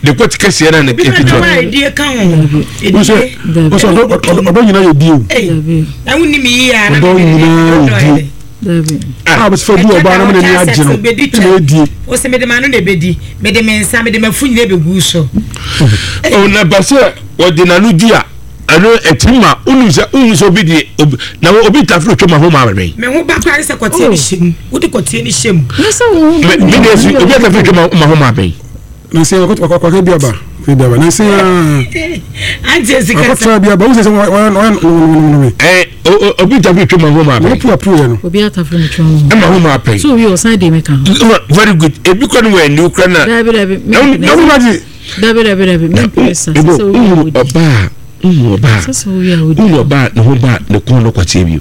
Ne kɔte kɛseɛ na ne ketewa. Wosɛ wosɛ ɔdɔ nyinaa yɛ die o. Ɔdɔ nyinaa yɛ die. A bɛ sɛ du ɔbaa na mo n'ani agye no ɛna edie. Wosɛ mede m'ano na ebedi mede me nsa mede m'afu nyinaa ebegu so. Ɔna ba sɛ ɔde n'ano di a ɛno ɛtumi ma wonim sɛ wohu sɛ obi deɛ obi na obi tafere twam aho ma abɛbɛn. Me ho ba koraa ne sɛ kɔteɛ ne hyɛ mu wode kɔteɛ ne hyɛ mu. Ne sɛ wo ho ba me deɛ si obi atafere twam aho ma abɛn. Na sɛ wakɔka bi aba bi aba na sɛ akɔtra bi aba wo sɛ sɛ wɔyɛ nononononomi. Ɛ obi tafere twam aho ma abɛn. Wɔpu apu yɛ no. Obi atafere twam aho ma ma abɛn. So obi ɔsan de mi ka ho. Very good ebi kɔ no wɔ aniw kora na. Dabi dabi. Na wo ma Dabi dabi dabi mi mpere sa sɛ sɛ wowie a wodi. Ɔbaa wohu ɔbaa wohu ɔbaa ne ho ba ne kɔn no kɔteɛ bio.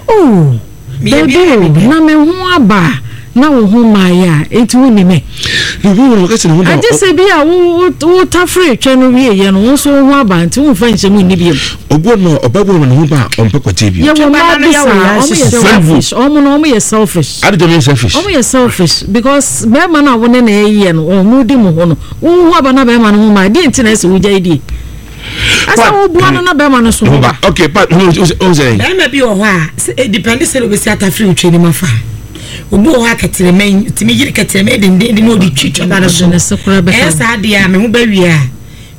Oh dabi o na me ho aba na wo ho mmaeɛ a enti wo ni me. Ne ho wɔn kɛse ne ho ba. Agye sɛ bi a wo wo tafere twɛ no wie yɛ no wo nso wo ho aba nti wo nfa nhyɛ mu nni bio. Obi wɔ no ɔbaa bi wɔ no ne ho ba a ɔmpɛ kɔteɛ bio. Yɛ wɔ mmaa bi saa ɔmo yɛ selfish ɔmo no ɔmo yɛ selfish. Adi jɛ mi yɛ selfish. Ɔmo yɛ selfish because bɛrima no a wo ne na ɛyɛ no ɔmo di mo ho no. Wo ho aba na bɛrima no ho ma deɛ nti na ɛsɛ wogyae die? Ɛsɛ wobua no na bɛrima no so ho ba. Okay, pa ho sɛ. Bɛrima bi wɔ hɔ a sɛ edipɛnde sɛ obesi atafere otwa anim afa. Obi wɔ hɔ a kɛtɛrɛmɛ yi tumi yiri kɛtɛrɛmɛ dendenden na ɔde twi twaba no so. Ɛyɛ saa deɛ a me ho bɛwie a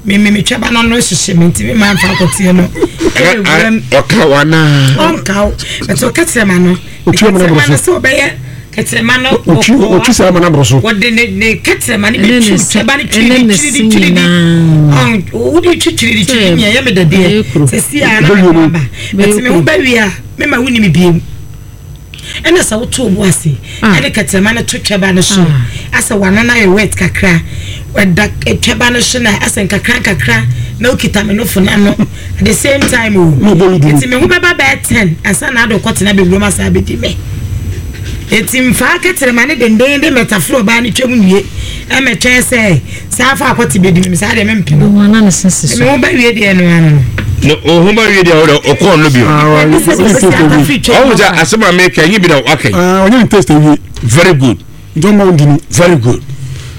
me me me twaba no ano hyehye me ntumi maa nfa akɔteɛ no. Ɛyɛ wuram. Ɔka wa naa. Ɔnka wo bɛtɛ ɔkɛtɛrɛmɛ no. Otwi amena boro so. Kɛtɛrɛma no sɛ ɔbɛyɛ kɛtɛrɛma no. Otwi otwi saa amena boro so. Wɔde ne ne kɛtɛrɛma no bɛ twi twɛba no twiri di twiri di twiri di. Ɔn wode twi twiri di twiri mi ɛyɛ mi dɛdeɛ. Sɛsi a na mi ho aba. Bɛti mi ho bɛ wie a mi ma wuni mi biem. Ɛna sɛ woto wo bo ase ɛde kɛtɛrɛma no to twɛba no so asɛ wano no ayɛ wet kakra ɛda twɛba no so na asɛ nkakra nkakra na okita me nofo no ano at the same time o nti me ho bɛba bɛyɛ 10 ansa na ade kɔtena bɛwuram asa abɛdi me nti mfaa kɛtɛrɛma no dendenden mɛtaforo ɔbaa no twam nwie ɛmɛtwɛn sɛ Saa fa akɔte bedi me saa deɛ mempɛ no. Ana ne sese so. Me ho ba wie deɛ no ano no. Ne ho ba wie deɛ ɔdɛ ɔkɔɔ no bio. Ɔwɔ sɛ asɛm a meka nye bi na waka yi. Ɔnyɛ ne taste awie. Very good. Nti ɔma wo ndini. Very good.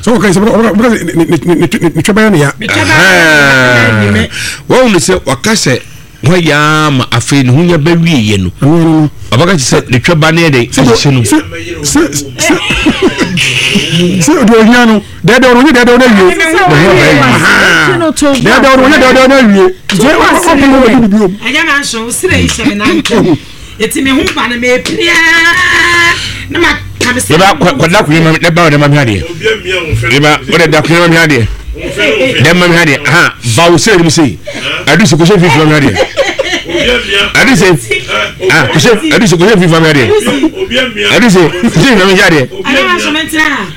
Sɛ wɔka sɛ wɔka sɛ ne twɛ bɛyɛ ne ya. Wɔn sɛ waka sɛ Hɔ yɛ ara ma afei ne ho nya bɛwieɛ no, ɔbɛka kyerɛ sɛ ne twɛba no yɛ dɛ ahyehye no. Sɛ deɛ ohia no dɛɛdɛw no onye dɛɛdɛw no awie. Dɛɛdɛw no onye dɛɛdɛw no awie. Nti ɔpɛ no bɛdi ne biom. Ɛnyɛ na nso wo srɛ yi hyɛ me nan ntam. Eti me ho ba no mepere ara na ma ka me sɛ. Yɛba kɔda akonnwa ma ne ba ɔde ma mi adeɛ. Yɛba ɔde da akonnwa ma mi adeɛ. Dɛ ma mi adeɛ. Ha ba wo sɛ ɛnim sɛ adu sɛ kɔhyɛ mfimfini ma mi adeɛ. Adu sɛ ah kɔhyɛ adu sɛ kɔhyɛ mfimfini ma mi adeɛ. Adu sɛ kɔhyɛ mfimfini ma mi adeɛ.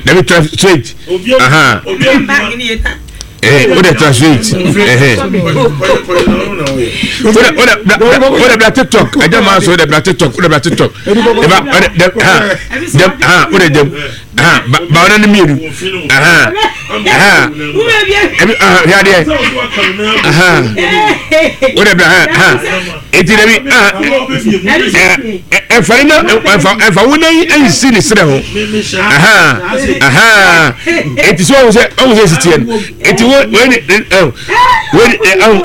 Dabi tra straight. Aha. Eh, o de translate. Eh, o de o de o de bla TikTok. Ẹjẹ maa so o de bla TikTok, o de bla TikTok. Eba o de de ha de ha o de dem ha ba ba o de mmienu. Ha ha ebi ha hwɛ adeɛ. Ha o de bla ha ha eti dɛbi ha ɛnfa ne na ɛnfa ɛnfa wo nan nsi ne serɛ ho. Aha aha eti so ɔhun sɛ ɔhun sɛ esi teɛ no eti wo wei ne ɛ wei ne ɛ ɔhun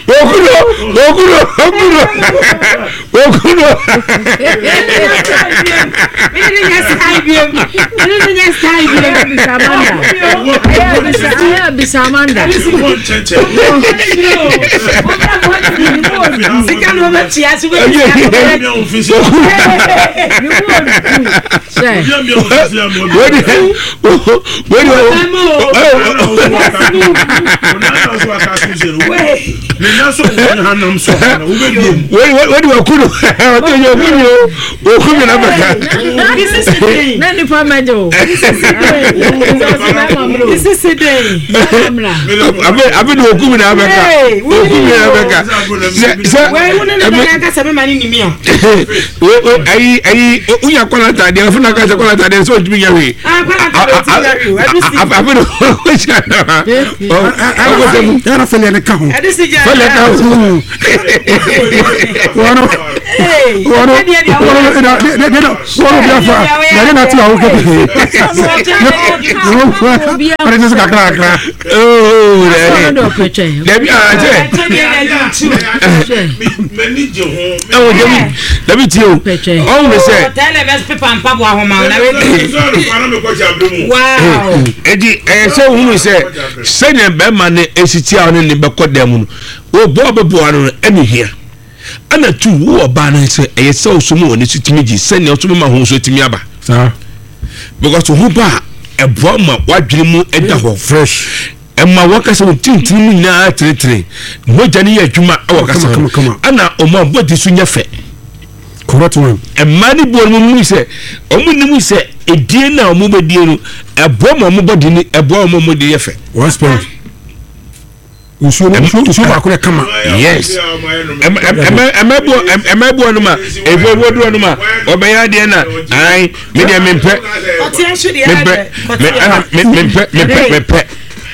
okuro okuro okuro okuro. Wei wakunu ɔtɔ yɛ okunu o okunu na bɛka. Na nipa mɛgye o. Abe abe de okunu na bɛka okunu na bɛka sɛ sɛ. Ayi ayi wonya kɔla ataadeɛ afei na aka sɛ kɔla ataadeɛ sɛ ɔntumi nyɛ hwee afei na ɔhyɛ ɛna fɛlɛ ne ka ho fɛlɛ ka ho wɔno wɔno wɔno bi afa yɛde na te a wokɛ Ɔde te so kakra kakra. Ooo dabi ah sɛ. Ɛwɔ dabi dabi tie o. Ɔwɔ sɛ. Eti ɛyɛ sɛ ohunu sɛ sɛnea bɛrima no esi tia ɔne ne bɛkɔ dan mu no, wɔbɔ ɔbɛboa no no ɛna hia. Ɛna tu wo ɔbaa no sɛ ɛyɛ sɛ ɔsom wɔ ne so tumi gye sɛnea ɔsom ma ho so tumi aba. Saa. Because ho ba a ɛboa ma w'adwene mu ɛda hɔ. Fresh. Ɛma wɔkasa wɔn tintini mu nyinaa tenetene. Mogya no yɛ adwuma ɛwɔ kasa ho. Ɛna wɔn abɔde so nyɛ fɛ. Correct one. Mmaa no bi wɔn mu sɛ wɔn nim sɛ edie na wɔn bɛdie no ɛboa ma wɔn bɔde ni ɛboa wɔn wɔn de yɛ fɛ. One spirit. Nsuo no nsuo nsuo baako na kama. Yes. Ɛmɛ ɛmɛ bu ɔno ma efu efu du ɔno ma ɔbɛyɛ adeɛ na ayi mi deɛ mi mpɛ mi mpɛ mi mpɛ mi mpɛ mi mpɛ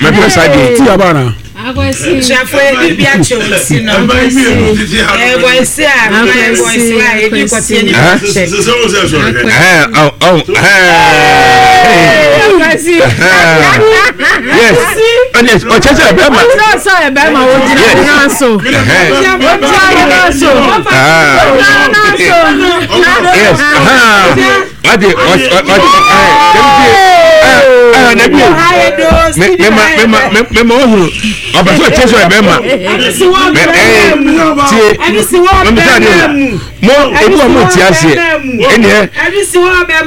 mi mpɛ saa deɛ. Ti aba na. Abusuafo ebi bi akyɛ osi no. Ɛbɔnsi a ɛbɔnsi a ebi kɔteɛ ne bi kyɛ. Yes. Ɔnyɛ ɔkyɛ sɛ ɛbɛma. Ɔkyerɛ sɛ ɛbɛma ogyina ne nan so. Ogyina ne nan so. Ogyina ne nan so. Yes. Wate ɔte ɔte ɛɛ ɛɛ ɛɛ nabi o mɛma mɛma mɛma ɔhunu ɔbɛ sɛ ɔkyɛ sɛ ɛbɛma mɛ ɛɛ tie mɛmi sɛ adeɛ mo ebi wɔ mo ti aseɛ ɛnìɛ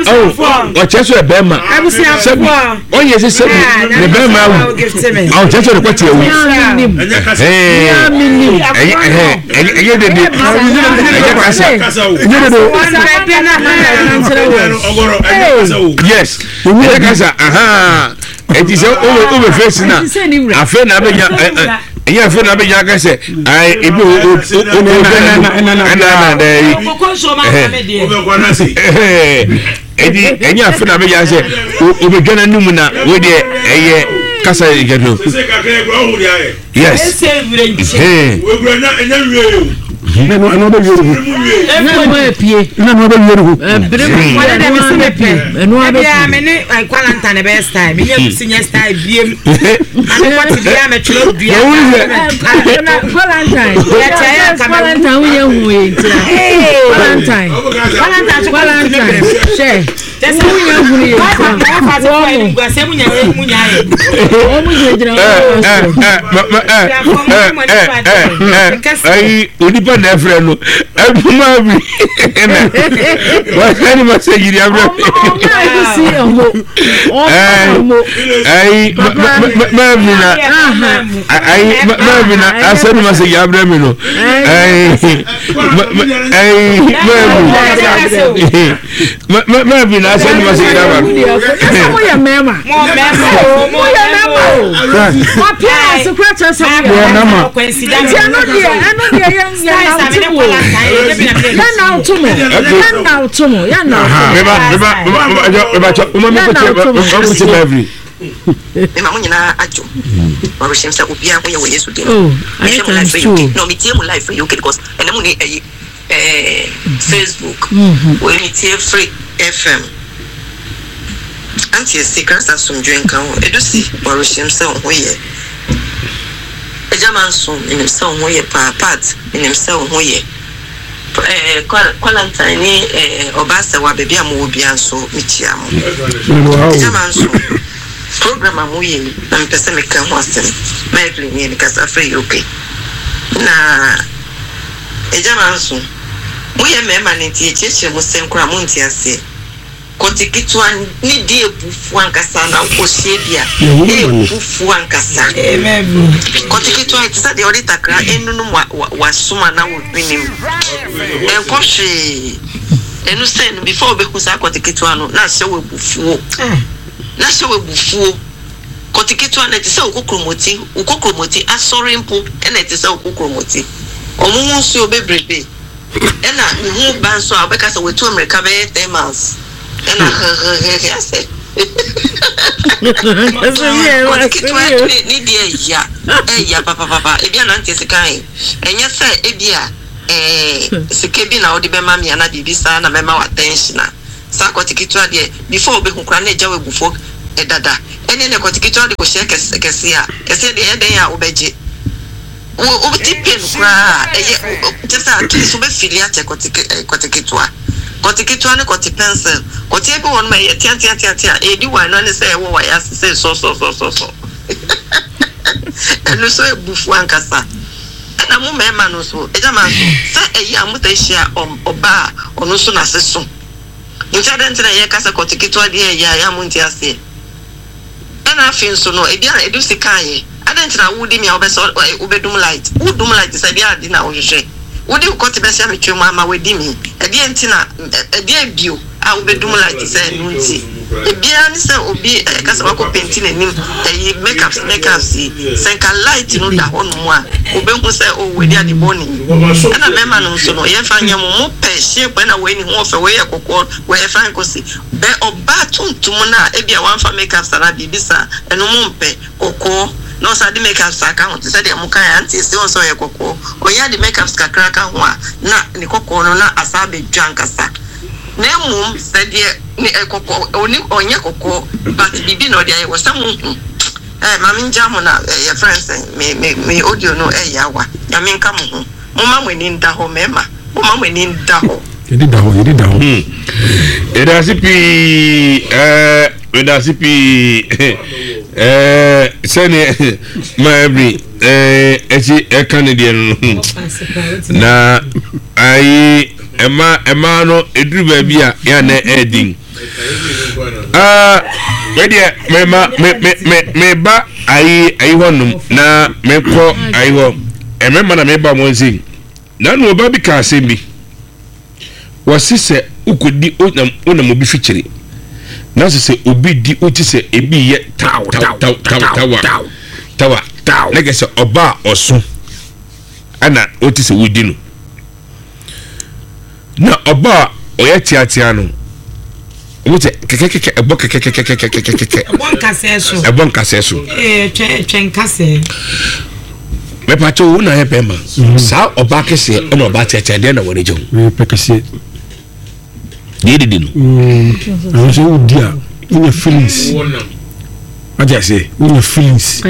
ɔwɔ ɔkyɛ sɛ ɛbɛma sɛbi ɔnyɛ sɛ sɛbi ne bɛma awu ɔkyɛ sɛ ɔde kɔ te awu ɛɛ ɛyɛ ɛyɛ ɛyɛ dede ɛyɛ kasa Ɛnyɛ dede. Yes, ɛyɛ kasa ahan eti sɛ o bɛ o bɛ fesi na afei na abɛnya ɛ ɛ ɛyɛ afei na abɛnya akasɛ ayi ebi o o o o o bɛ na ɛna na dɛ yi ɛhɛ eti ɛnyɛ afei na abɛnya sɛ o o bɛ dwa n'anum na o deɛ ɛyɛ kasa yɛ kɛ do. Yes. Ɛno ɛno bɛ wie ne ho. Ɛno ɛpie. Ɛno ɛno bɛ wie ne ho. Ɛbere mu Wɔde dɛ mesi me pɛ. Ɛno abɛ Ebia me ne Kwalanta na ɛbɛyɛ style. Me ne Agusi nyɛ style biem. Ame kɔte bia mɛtwerɛ dua. Valentine. Valentine wo yɛ hu yɛ ntina. Valentine. Valentine so Valentine. Hyɛ. Ayi onipa na ɛfrɛ no ɛduma bi ɛna wɔsɛn ne ma sɛ yiri abrɛ ayi mɛmi na ayi mɛmi na asɛn ne ma sɛ yiri abrɛ mi no ayi ayi mɛmi. Mɛbi na asɛ nima sɛ yɛda ba. Ɛsɛ mo yɛ mɛɛma. Mo yɛ mɛɛma o. Mo appearance kura kyerɛ sɛ mo yɛ mɛɛma. Nti ɛno deɛ ɛno deɛ yɛn yɛn na ɔto mo. Yɛn na ɔto mo. Yɛn na ɔto mo. Yɛn na ɔto mo. Meba meba meba meba kyɛ mo ma mi ko kyɛ mo ko kyɛ mɛviri. Mema mo nyinaa adwo. Mawerɛhyɛm sɛ obiara ho yɛ wɔ Yesu din mu. Oh, Mehwɛ mo live firi UK. No, metie mo live firi UK because ɛnɛ mo ni ɛyi. Eh Facebook wei me tie firi FM Auntie Esi Christ asomdwoe nka wo Edusi warehyem sɛ wo ho yɛ Agya Manso menim sɛ wo ho yɛ paa Pat menim sɛ wo ho yɛ eh Quarantine ne eh Ɔbaasɛwa baabi a mowɔ biara nso mekyia mo Agya Manso program a moyɛ yi na mepɛ sɛ meka ho asɛm Mervlyn nie mekasa firi UK na Agya Manso, moyɛ mmarima no nti yɛkyerɛkyerɛ mo sɛn koraa a monte aseɛ. Kɔte ketewa ne di abufuo ankasa na wokɔhyia bi a, ɛyɛ ankasa. Kɔte ketewa ɛte sɛ deɛ wɔde takra anunum w'asom anaa wo hwenem. Ɛnkɔ hwee. Ɛno sɛn no before wobɛhu saa kɔte ketewa no na ahyɛ wo abufuo. Na ahyɛ wo abufuo. Kɔte ketewa no, ɛte sɛ wo kokromoti, wo kokromoti asɔre mpo na ɛte sɛ wo kokromoti. Wɔn ho nsuo bebrebe. Ɛna ne ho ba nso a, wobɛka sɛ watu mmirika bɛyɛ 10 miles. Ɛna hehehehe asɛ. Kɔte ketewa ne ne deɛ ɛya, ɛya papapapa. Ebi a nante sika he, ɛnyɛ sɛ ebi a ɛɛ sika bi na wode bɛma me anaa biribi saa na mɛma wo attention a. Saa kɔte ketewa deɛ, before wobɛhu koraa na agya wo abufuo. dada. Ɛne ne kɔte ketewa de kɔhyɛ kɛse kɛseɛ a, kɛseɛ deɛ ɛyɛ dɛn a wobɛgye. Wo wo ti pain koraa a, ɛyɛ kyerɛ sɛ at least wobɛ feeli akyɛ kɔte ke eh, kɔte ketewa. Kɔte ketewa ne kɔte pencil. Kɔteɛ bi wɔ hɔ nom a ɛyɛ teateateatea, ɛredi wine no ɛne sɛ ɛwɔ w'ayɛ ase sɛ sɔsɔsɔsɔsɔ. Ɛno nso abufuo ankasa. Ɛna mo mmarima no nso, agya manso, sɛ ɛyɛ a motaa hyia ɔbaa a ɔno nso n'ase so. Nti adɛn nti na yɛka sɛ kɔte ketewa deɛ ɛyɛ a ɛyɛ a monte aseɛ? Ɛna afei nso no, ebi a ɛdu sika ayɛ. Adɛn nti na wodi me a wobɛsɔ wobɛdum light? Wodum light sɛ ɛdeɛn ade na wohwehwɛ? Wode wo kɔte bɛhyɛ me tiri mu ama wadi me? Ɛdeɛn nti na ɛdeɛn bio a wobɛdum light sɛ ɛno nti? Ebiara ne sɛ obi ɛka sɛ wakɔ penti n'anim ɛyi makeups makeups yi, sɛ nka light no da hɔ nom a, obehu sɛ oh wadi ade bɔne yi. Ɛna mɛma no nso no yɛnfa nyɛ mo, mo pɛ shape ɛna wei ne ho ɔfɛ, wei yɛ kɔkɔɔ, wei yɛ fine kɔsi bɛ ɔbaa tuntum no a ebia wamfa makeups anaa biribi saa ɛno mo mpɛ. Kɔkɔɔ na ɔsan de makeups aka ho te sɛ deɛ mo kaeɛ auntie ese wohu sɛ ɔyɛ kɔkɔɔ ɔnya de makeups kakra ka ho a na ne kɔkɔɔ no na asan abɛdwa ankasa na mmom sɛ deɛ ne kɔkɔɔ ɔni ɔnyɛ kɔkɔɔ but biribi na ɔde ayɛ wɔ sɛ mo hu eh ma me ngya mo na eh, yɛfrɛ no sɛn me me me audio no ɛyɛ awa nyame nka mo ho momma mo ani nda hɔ mɛɛma momma mo ani nda hɔ. Yɛde da hɔ, yɛde da hɔ. Hmm. Yɛda ase pii ɛɛ yɛda ase pii ɛɛ sɛdeɛ ma ɛbiri ɛɛ ɛkyi ɛka ne deɛ no na ayi ɛma ɛma no eduru baabi a yɛn anɛ ɛɛdin ɛɛ medeɛ mema me me me meba ayi ayi hɔ nom na mekɔ ayi hɔ ɛmɛma na meba wɔn nse. Nanu ɔbaa bi kaa asɛm bi. Wɔse sɛ wokɔdi wonam wonam obi fikyiri na sɛ sɛ obi di wote sɛ ebi yɛ taw taw taw taw tawa tawa taw na kɛ sɛ ɔbaa ɔso ɛna wote sɛ wodi no na ɔbaa ɔyɛ teatea no Wɔn sɛ kɛkɛkɛkɛ ɛbɔ kɛkɛkɛkɛkɛkɛkɛ. Ɛbɔ nkasɛɛ so. Ɛbɔ nkasɛɛ so. Ee twɛ twɛ nkasɛɛ. Mɛpàtɛ wo na yɛ bɛrima. Mm. Saa ɔbaa kɛseɛ ɛna ɔbaa teatea deɛ na wɔn gye ho. Mɛ pɛ kɛseɛ. Deɛ didi no. Àwọn sɛ wodi a wonya feelings. Wate aseɛ wonya feelings.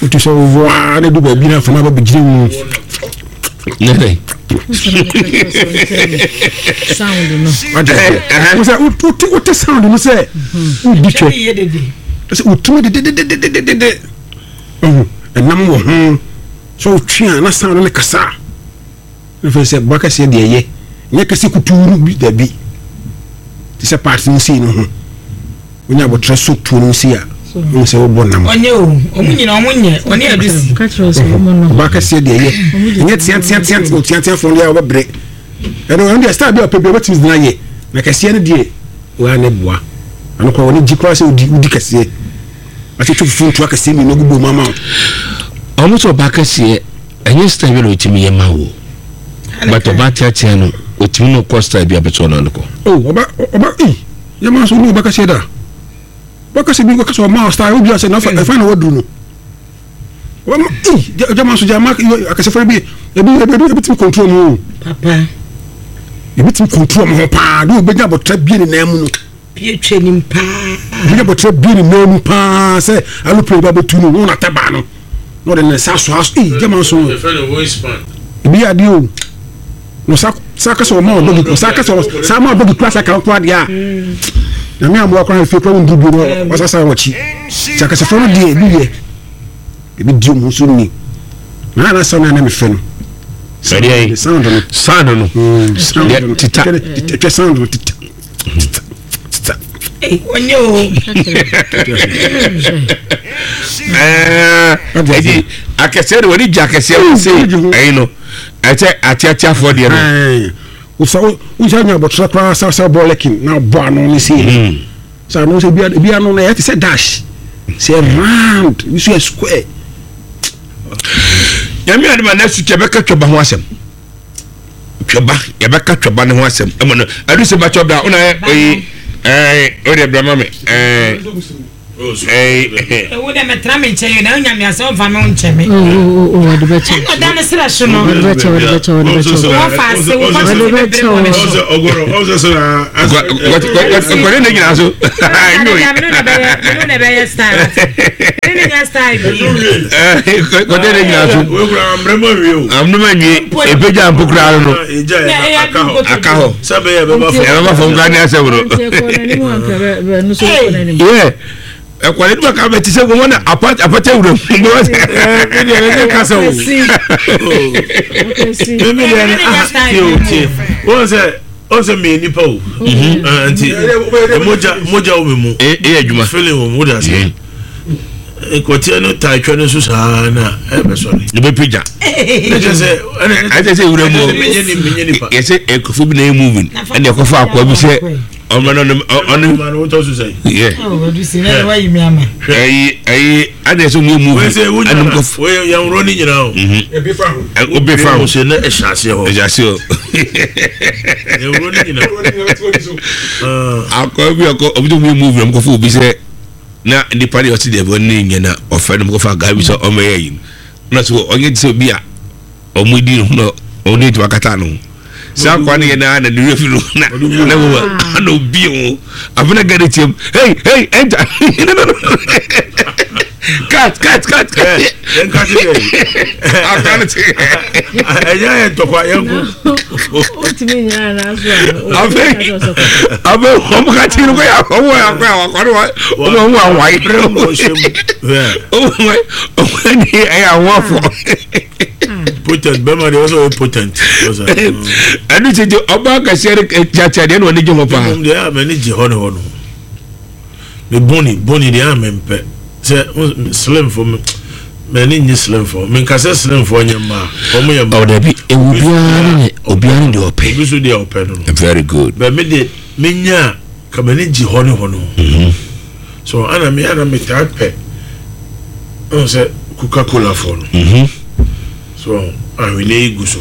Wotu sɛ wowɔ a na du baabi na afama ba bɛgyina mu. Ne sɛ wote sound no sɛ wodi twɛ sɛ wotumi dededededede ɛnam wɔ ho sɛ wotwe a na sound no kasa na fɛ sɛ boa kɛseɛ deɛ ɛyɛ nyɛ kɛse kutuu no bi dabi te sɛ part no sei no ho Wonya aboterɛ so tuo no si a, wohu sɛ wobɔ nam. Ɔnyɛ o, ɔmo nyina ɔmo nyɛ, ɔne adusi. Ɔbaa kɛseɛ deɛ ɛyɛ, ɛnyɛ teateatea oteateafoɔ deɛ a wɔbɛbrɛ. Ɛno ɛno deɛ style bi a ɔpɛ bi ɔbɛtumi de no ayɛ, na kɛseɛ no deɛ wɔa ne boa. Ɛno koraa wɔne gye koraa sɛ wodi wodi kɛseɛ. Atwetwe fufuo ntoa kɛseɛ mmienu agu bom ama wo. Ɔmo sɛ ɔbaa kɛseɛ ɛnyɛ style bi na ɔtumi yɛ ma wo. But ɔbaa teatea no ɔtumi no kɔ style bi a bɛtɔ no ano kɔ. Oh ɔba ɔba ei. Yɛ maa so ne ɔbɛka sɛ da. Bɛka sɛ bi kɔka sɛ ɔma ɔsta obi asɛ na ɛfa na waduru no. Ɔma ei gya maa so gya ma akasɛfo bi ebi ebi ebi tumi control mu. Papa. Ebi tumi control mu ho paa de obɛnya abɔtra bie ne nan mu no. Bie twɛ nim paa. Obɛnya abɔtra bie ne nan mu paa sɛ alopere ba bɛtu no wɔn atabaa no. Na ɔde ne nsa aso aso ei gya maa so. Ebi yɛ adeɛ o. na ɔsa sa kasa ɔma ɔdɔ bi ɔsa kasa sa ma ɔdɔ bi kura sa kan kura deɛ a nyame amoa kora efie kura wɔn duru bi no ɔsa sa wɔn akyi sɛ akasafo no deɛ ebi yɛ ebi di wɔn so ni na na sa na na mi fɛ no. Sɛdeɛ yi sound no sound no sound no tita tita sound no tita tita tita. Onye o. Ɛɛ ɛdi akɛseɛ de wɔde gya akɛseɛ wɔ se ɛyi no. Ɛkyɛ ateateafoɔ deɛ no. Wosa wosa nya abɔtra koraa sa sa bɔ lɛkin na bɔ ano ne sei. Hmm. Sa ano sɛ ebi ano na ɛyɛ te sɛ dash sɛ round ebi so yɛ square. Nyame adema na su kyɛ bɛka twɛba ho asɛm. Twɛba yɛbɛka twɛba ne ho asɛm ɛmɔ no ɛdu sɛ bɛkyɛ bra wona yɛ oyi ɛɛ o deɛ bra ma me ɛɛ. Ewu dɛ mɛtena me nkyɛn na onya me asɛ ɔmfa me ho nkyɛ me. Ɔde bɛkyɛ. Ɛna ɔda ne serɛ so no. Ɔde bɛkyɛ ɔde bɛkyɛ ɔde bɛkyɛ. Wɔfa ase wɔfa ase Ɔde bɛkyɛ bebree wɔ ne so. Nkɔde ne gyina so. Ɛna mene na bɛyɛ mene na bɛyɛ style. Mene na nyɛ style bi. Nkɔde ne gyina so. Amrema nwie o. Amrema nwie. Ebegya mpo koraa no. Aka hɔ. Ɛbɛba fam koraa ne asɛm no. Yeah. Ɛkɔ ne duma ka bɛ ti sɛ wɔn na apata apata wura mu. Mi deɛ ne ne kasa o. Mi mi deɛ ne ah tie o tie. Wɔn sɛ wɔn sɛ mi yɛ nipa o. Nti mogya mogya wɔ mi mu. E yɛ adwuma. Feeling wɔ mu o de ase. Nkɔteɛ no taa twɛ no so saa na ɛbɛ sɔre. Ne bɛ pagya. Ne kyɛ sɛ ɛna ɛkyɛ sɛ wura mu. Menyɛ nipa. Yɛsɛ nkurɔfoɔ bi na ɛyɛ moving ɛna ɛkɔfa akoa bi sɛ ɔmɛ no ɔno. Yɛ. Ɛyi ɛyi ɛna ɛsɛ ɔmo yɛ moving ɛna ɔmo kɔf. Yɛn wuro ne nyinaa o. Obi fa ho. Sɛ ne ɛhyɛ aseɛ hɔ. Ɛhyɛ aseɛ hɔ. Yɛn wuro ne nyinaa. Akoa bi ɔkɔ ɔmo tó ɔmo yɛ moving ɔmo kɔfɔ obi sɛ. Na nipa deɛ ɔte deɛ bɔne nyɛ na ɔfɛ no kɔfa guy bi sɛ ɔmɛyɛ yi na so ɔnyɛ te sɛ obi a ɔmo di no na ɔmo de ntoma kata no saa akwa no yɛ na na ne werɛ fi no na na mo na obi ho afei na gari tiam hey hey enter no no no cut cut cut cut yɛn ka ti dɛ akwa no te ɛnyɛ yɛ ntɔkwa yɛn ko Otumi nyina n'aso a. Afei afei wɔn ka ti no kɔ yɛ wɔn yɛ akɔ yɛ akɔ no wɔn wɔn awae. Wɔn wɔn ni ɛyɛ awafo. Potent bɛrima deɛ ɔsɛ ɔyɛ potent. Ɛnu ti di ɔbaa kɛseɛ no kyakyɛ deɛ na ɔni gye hɔ paa. Ɛmu deɛ a mɛ ni gye hɔ ne hɔ no. Me boni boni deɛ a mempɛ sɛ slim fo m'ani nye slim fo menka sɛ slim fo nyɛ mmaa wɔn yɛ mmaa. Ɔdabi ewu obiara ne obiara ne deɛ ɔpɛ. Obi so deɛ ɔpɛ no no. Very good. Bɛ me de menya ka m'ani gye hɔ ne hɔ no. Mhm. So ana me ana me taa pɛ ɔn sɛ Coca Cola fo no. Mhm. So ahwene yi gu so.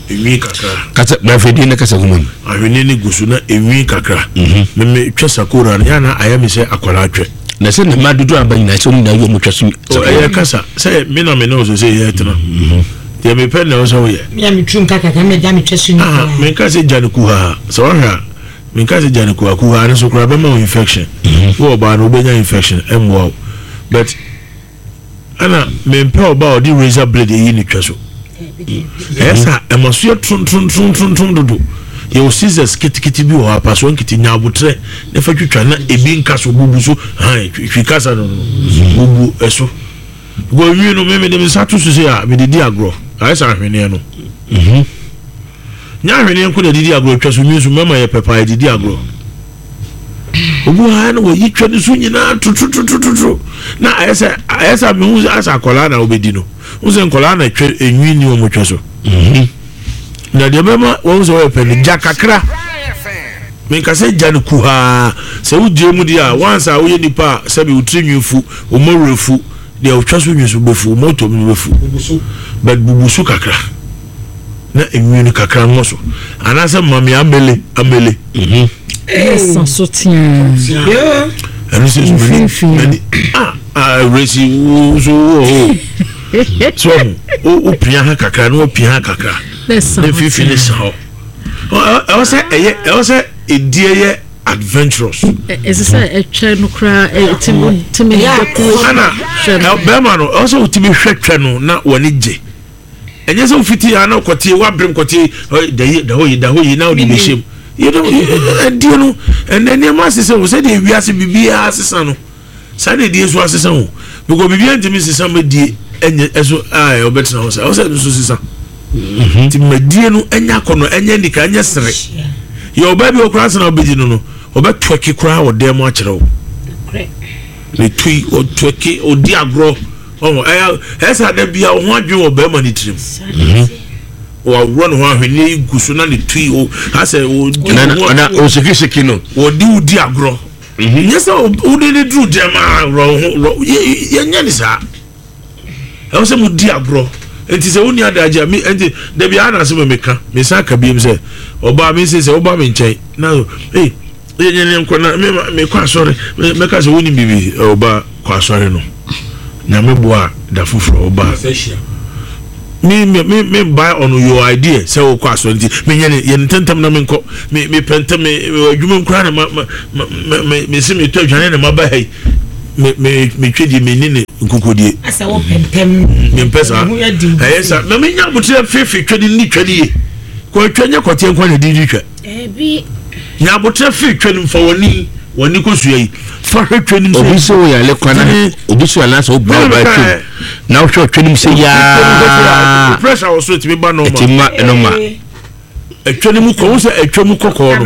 Enwi kakra. Kasa na afidie no kasa gu mu. Ahweneɛ no gu so na enwi kakra. Mhm. Me me twɛ sakora no yɛ na ayɛ me sɛ akwadaa twɛ. Na sɛ ne mma dodo aba nyinaa sɛ wɔn nyinaa yɛ wɔn twa so. Ɛyɛ kasa sɛ me na me ne ɔsɛ sɛ yɛ tena. Mhm. Deɛ mepɛ na ɔsɛ woyɛ. Me a meturu nka kakra me gya metwa so nyinaa. Menka sɛ gya no kuhaa sɛ wahwɛ a menka sɛ gya no kuhaa kuhaa no so koraa bɛma wo infection. Mhm. Wo ɔbaa no wobɛnya infection ɛmmoa wo but Ɛna mempɛ ɔbaa a ɔde razor blade eyi ne twa so. Ɛyɛ sa ɛma so yɛ trontrontrontrontron dodo. Yɛwɔ scissors ketekete bi wɔ hɔ apasoɔ nkete nya abotrɛ na fa twitwa na ebi nka so bubu so han twi kasa no no bubu ɛso. Because nwi no me mede me nsa to so sɛ a mede di agorɔ ayɛ sɛ ahweneɛ no. Mhm. Nyɛ ahweneɛ nko na ɛde di agorɔ twa so nwi nso mmarima yɛ pɛ paa yɛde di agorɔ. Obi wɔ ha na wɔyi twa ne so nyinaa tototototo na ayɛ sɛ ayɛ sɛ mehu sɛ asɛ akwadaa na wobɛdi no wo sɛ nkwadaa na twa enwi ni wɔn twa so mhm. na deɛ bɛma wɔn sɛ wɔyɛ pɛ no gya kakra menka sɛ gya no kuhaa sɛ wogyee mu deɛ a wansa a woyɛ nipa a sɛbi wo tiri nwi fu wo mmɔwerɛ fu deɛ wotwa so nwi so bɛfu wo mmɔtɔ mu bɛfu but bubu so kakra na enwi no kakra ngɔ so anaasɛ mame amele amele. Mhm. Ɛsa so teaa. Ɛno sɛ so mani mani ah ah awurasi wo so wo hɔ so wo wo pia ha kakra na wo pia ha kakra na mfimfini ne sa hɔ ɛwɔ sɛ ɛyɛ ɛwɔ sɛ edie yɛ adventurous. Ɛsɛ sɛ ɛtwɛ no koraa ɛtumi tumi dɛkuro. Ɛna bɛrima no ɛwɔ sɛ wotumi hwɛ twɛ no na wɔn ani gye. Ɛnyɛ sɛ wofiti ha na kɔte wabrem kɔte da yi da hɔ yi da hɔ yi na wode bɛhyɛ mu. You know, ɛdeɛ no ɛnɛ nneɛma asesa o sɛdeɛ wiase biribiara asesa no saa na ɛdeɛ nso asesa o because biribiara ntumi nsesa ma die ɛnyɛ ɛso a ɔbɛtena hɔ saa ɔsɛ ɛno nso sesa mhm. nti ma die no ɛnyɛ akɔnɔ ɛnyɛ nika ɛnyɛ sere yɛ ɔbaa bi ɔkora asena ɔbɛdi no no ɔbɛtwɛke koraa wɔ dan mu akyerɛ wo ne tui ɔtwɛke ɔdi agorɔ Ɔho ɛyɛ ɛyɛ sɛ ada bia wo ho adwene wɔ bɛrima ne tirim. Mhm. Wɔaworɔ ne ho ahweneɛ yi gu so na ne tui o asɛ wɔdi na na ɔsekiseki no. Wɔde wo di agorɔ. Mhm. Nyɛ sɛ wode ne duru dɛm a worɔ wo ho worɔ yɛnyɛ ne saa. Ɛwɔ sɛ mo di agorɔ. Nti sɛ wonni adagye a me nti dabi a na asɛm a meka mesan ka biom sɛ ɔbaa me nse sɛ woba me nkyɛn na ee. Yɛnyɛ ne nkɔ na me mekɔ asɔre mɛka sɛ wonim biribi ɔba kɔ asɔre no nyame boa da foforɔ ɔba me me me me buy on your idea sɛ wokɔ asɔre nti menyɛ ne yɛ ne ntɛntɛm na menkɔ me mepɛ ntɛm me me adwuma mu koraa na ma ma ma me me se metɔ aduane na maba ha yi me me metwa die me ne ne nkokodie asɛ wopɛ ntɛm mempɛ saa ɛyɛ saa na menya aboterɛ fefe twɛ ne ni twɛ ne ye kɔ atwa nyɛ kɔteɛ nkwa na di di twɛ Dabi. Nya aboterɛ firi twɛ no mu, fa w'ani, w'ani kosua yi, fa hwɛ twɛ no mu sɛ. Obi sɛ woyale kora na obi sɛ anaasɛ wobra wo ba twɛ mu na wohwɛ ɔtwɛ no mu sɛ yaa. Pressure wɔ so ɛtumi ba normal. Ɛtumi ma normal. Ɛtwɛ no mu kɔ, wo sɛ ɛtwɛ mu kɔkɔɔ no,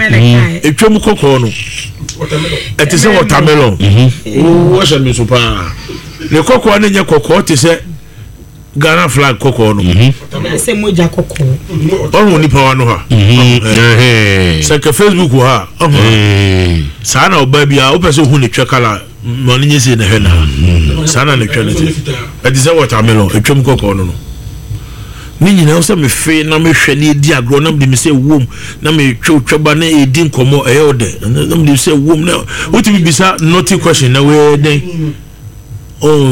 ɛtwɛ mu kɔkɔɔ no, ɛte sɛ watermelon. Wɔhyɛ me so paa. Ne kɔkɔɔ no nyɛ kɔkɔɔ te sɛ. Ghana flag kɔkɔɔ no. Mhm. Sɛ mogya kɔkɔɔ. Ɔhu nipa wa no ha. Mhm. Sɛ nka Facebook wɔ ha. Ɔhu. Saa na ɔbaa bi a wopɛ sɛ ohu ne twɛ kala ma no nyɛ sei na hwɛ na. Mhm. Saa na ne twɛ no te. Ɛte sɛ watermelon etwam kɔkɔɔ no no. Ne nyinaa sɛ mefe na mehwɛ ne edi agorɔ na mede me sɛ wom na metwe twɛba na edi nkɔmmɔ ɛyɛ ɔdɛ na mede sɛ wom na wotumi bisa naughty question na wɔyɛ dɛn. Oh,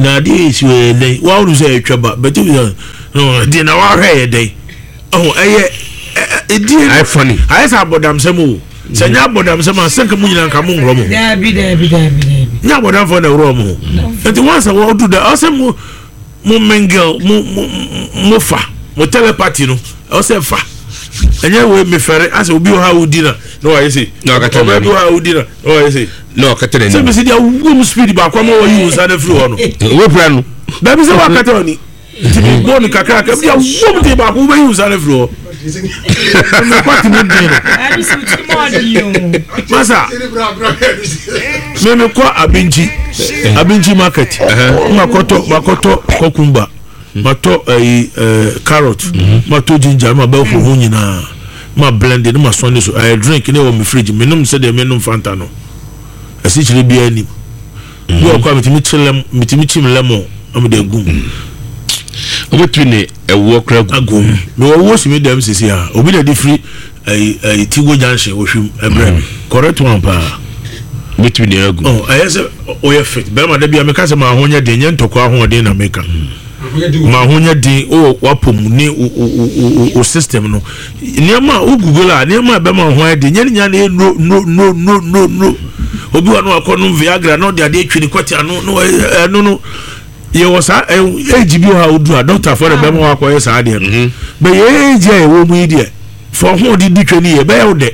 na adeɛ yɛ si yɛ dɛn wa wonu sɛ ɛtwa ba bɛtɛ bi sɛ no deɛ na wahwɛ yɛ dɛn ɔho ɛyɛ ɛdie ayɛ funny ayɛ sɛ abɔdamsɛm o sɛ nyɛ abɔdamsɛm a sɛ nka mo nyinaa nka mo nworɔ mo ho daabi daabi daabi daabi nyɛ abɔdamfoɔ na ɛworɔ mo ho nti wɔn sɛ wɔdu da ɔsɛ mo mo mingle mo mo mo fa mo telepathy no ɛwɔ sɛ fa ɛnyɛ wei mefɛre asɛ obi wɔ ha a wodi na na wayɛ sei Na wakata ɔbaa bi n'ani. wɔ ha a wodi na na wayɛ sei na ɔkata sɛ n'anim mesi deɛ wom speed baako ama wɔyi wo nsa no afiri hɔ no wobɛpira no dabi sɛ wakata w'ani nti mebɔ no kakraka bi a wom de baako wobɛyi wo nsa no afiri hɔ mekɔ tumi den no Ɛbi sɛ wotiri mu ɔden o. masa me mekɔ abinkyi abinkyi market makɔtɔ makɔtɔ kɔkumba matɔ ɛyi ɛɛ carrot matɔ ginger ma bɛ ho nyinaa ma blend ne ma sɔn ne so ɛyɛ drink ne wɔ me fridge menom sɛdeɛ menom fanta no asikyire biara nim bi wɔ kɔ a metumi kye lem metumi kyim lemon na mede agu mu wobɛtumi ne ɛwoɔ kora gu agu mu mewɔ woɔ si me dɛm sisi a obi na de firi ɛyi ɛyi tigo junction ohwim ɛbrɛ mi correct one paa wobɛtumi ne agu ɔ ɛyɛ sɛ ɔyɛ fit bɛrima da bi a meka sɛ maa ho nyɛ den nyɛ ntɔkwa ahoɔden na meka maa ho nyɛ den wɔ wapɔ mu ne o o o o system no nneɛma a wo google a nneɛma a ɛbɛma ho ayɛ den nyɛ ne nyinaa na ɛyɛ nnuro nnuro nnuro nnuro nnuro nnuro obi wa no akɔ nom viagra na ɔde adeɛ twi ne kɔte ano na ɛno no yɛwɔ saa age bi wɔ ha odu a doctor fɔ de bɛma wakɔyɛ saa adeɛ no mhm. bɛyɛ age a yɛwɔ mu yi deɛ fɔ ho de di twɛ ne yɛ bɛyɛ wo dɛ